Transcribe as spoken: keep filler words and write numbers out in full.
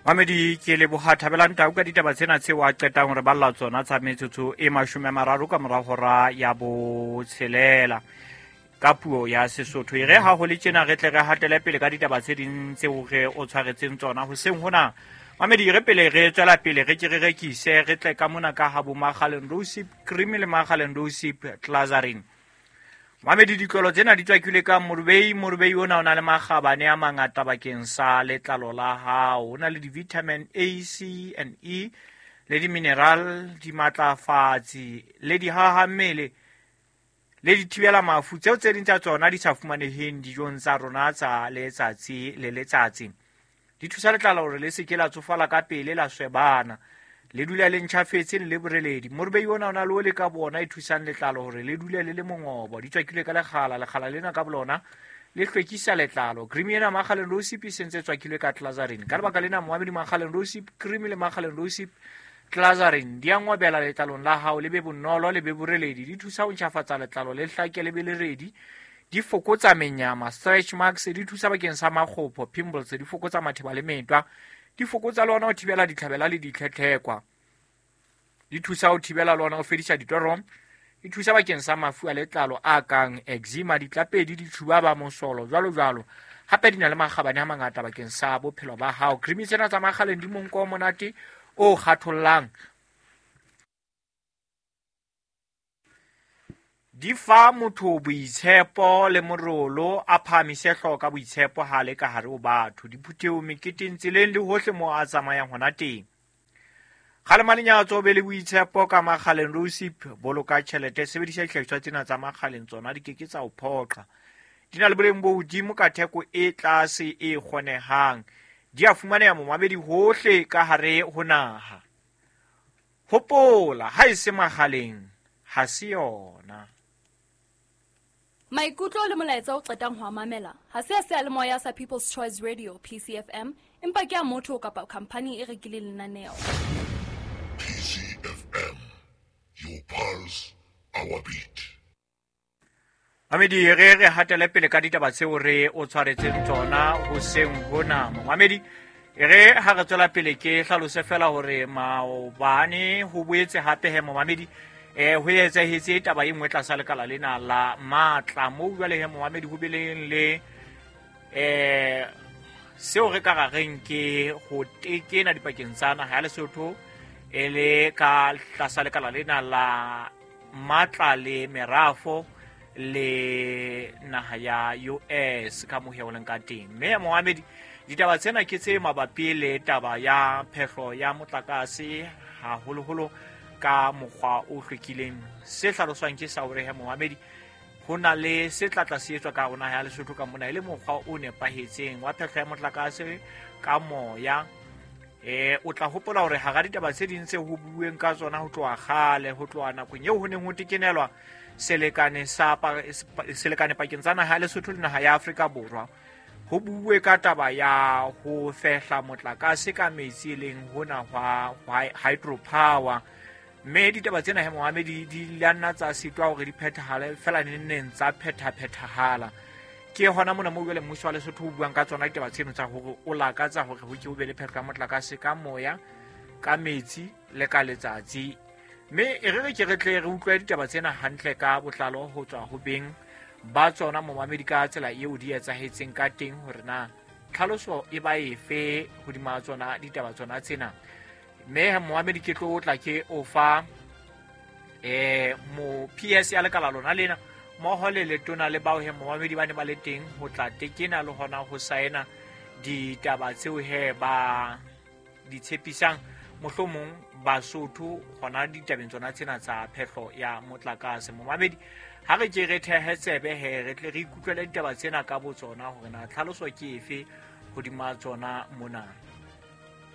Mamedi ke leboha Thabelang Tau ka ditaba tsena tseo a qetang hore balla tsona tsa metsotso e mashome a mararo ka mora hora ya botshelela ka puo ya Sesotho. E re ha ho le tjena re tle re hatele pele ka ditaba tse ding tseo re o tshwaretseng tsona hoseng hona. Mamedi re pele re tswela pele re ke re rekise re tle ka mona ka ha bo Makgaleng Rosip Cream le Makgaleng Rosip Glazarin. Mamedi ditlolo tsena di tswakilwe ka morubei. Morubei ona o na le makgabane a mangata bakeng sa letlalo la hao. O na le di-vitamin A, C and E le di-mineral, dimatlafatsi le dihahammele le dithibela mafu tseo tse ding tsa tsona di sa fumaneheng dijong tsa rona tsa letsatsi le letsatsi. Di thusa letlalo hore le se ke la tsofala ka pele la swebana, le dule le ntjhafetse le le boreledi. Morubei ona o na le ole ka bona e thusang letlalo hore le dule le le mongobo. Di tswakilwe ka lekgala, lekgala lena ka bolona le hlwekisa letlalo. Cream ena Makgaleng Rosip e sentse tswakilwe ka Glazarin. Ka lebaka lena moamedi Makgaleng Rosip Cream le Makgaleng Rosip Glazarin di a ngobela letlalong la hao, le be bonolo le be boreledi. Di thusa ho ntjhafatsa letlalo le hlake le be le redi. Di fokotsa menyama, stretch marks, di thusa bakeng sa makgopho, pimples, di fokotsa matheba le metwa. Di fokotsa le ona ho thibela ditlhabela le ditlhetlhekwa. Di thusa ho thibela le ona ho fedisa ditoro. Di thusa bakeng sa mafu a letlalo a kang eczema, ditlapedi, ditshubaba, mosolo, jwalo jwalo. Hape di na le makgabane a mangata bakeng sa bophelo ba hao. Cream tsena tsa Makgaleng di monko o monate o kgathollang. Di fa motho boitshepo le morolo, a phahamise hlooho ka boitshepo ha le ka hare ho batho, diphuthehong, meketeng, tseleng le hohle moo a tsamayang hona teng. Kgalema lenyatso, be le boitshepo ka Makgaleng Rosip. Boloka tjhelete, sebedisa dihlahiswa tsena tsa Makgaleng, tsona di ke ke tsa o phoqa. Di na le boleng bo hodimo ka theko e tlase e kgonehang. Di a fumaneha momamedi hohle ka hare ho naha. Hopola, ha e se Makgaleng, ha se yona. Maikutlo le molaetsa o qetang ho a mamela ha se a seyalemoya sa People's Choice Radio P C F M, empa ke a motho kapa khampani e rekileng lenaneo. P C F M, your pulse, our beat. Mamedi re re hatele pele ka ditaba tseo re o tshwaretseng tsona hoseng hona. Mamedi re ha re tswela pele ke hlalose fela hore maobane ho boetse hape he momamedi eh ho etsahetse taba e nngwe tlasa lekala lena la matla moo jwale he momamedi ho bileng le eh seo re ka ra reng ke ho tekena dipakeng tsa naha ya Lesotho e le ka tlasa lekala lena la matla le merafo le naha ya U S ka mohe o leng ka teng. Mme momamedi ditaba tsena ke tse mabapi le taba ya phehlo ya motlakase haholoholo ka mokgwa o hlwekileng. Se hlaloswang ke sa hore he momamedi ho na le se tlatla se etswa ka rona ya Lesotho ka mona e le mokgwa o nepahetseng wa phehlo ya motlakase ka moya. Eh o tla hopola hore hara ditaba tse ding tse ho buuweng ka tsona ho tloha kgale, ho tloha nakong eo ho neng ho tekenelwa selekane sa selekane pakeng tsa naha ya Lesotho le naha ya Afrika Borwa, ho buuwe ka taba ya ho fehla motlakase ka metsi e leng hona hwa hydropower. Mme ditaba tsena he momamedi di la nna tsa sitwa hore di phethahale fela neng tsa phethaphethahala. Ke hona mona moo jwale mmuso wa Lesotho o buang ka tsona ditaba tseno tsa hore o lakatsa hore ho ke ho be le phehlo ya motlakase ka moya, ka metsi le ka letsatsi. Mme e re re ke re tle re utlwe ditaba tsena hantle ka botlalo ho tswa ho beng ba tsona momamedi ka tsela eo di etsahetseng ka teng, hore na tlhaloso e ba efe hodima tsona ditaba tsona tsena. Mme momamedi ke tlo tla ke o fa eh mo P S ya lekala lona lena mmoho le letona le bao he momamedi ba ne ba le teng ho tla tekena le hona ho saena ditaba tseo he ba di tshepisang mohlomong Basotho hona ditabeng tsona tsena tsa phehlo ya motlakase. Momamedi ha re ke re thehe tsebe he re tle re ikutlwele ditaba tsena ka botsona hore na tlhaloso ke efe hodima tsona mona.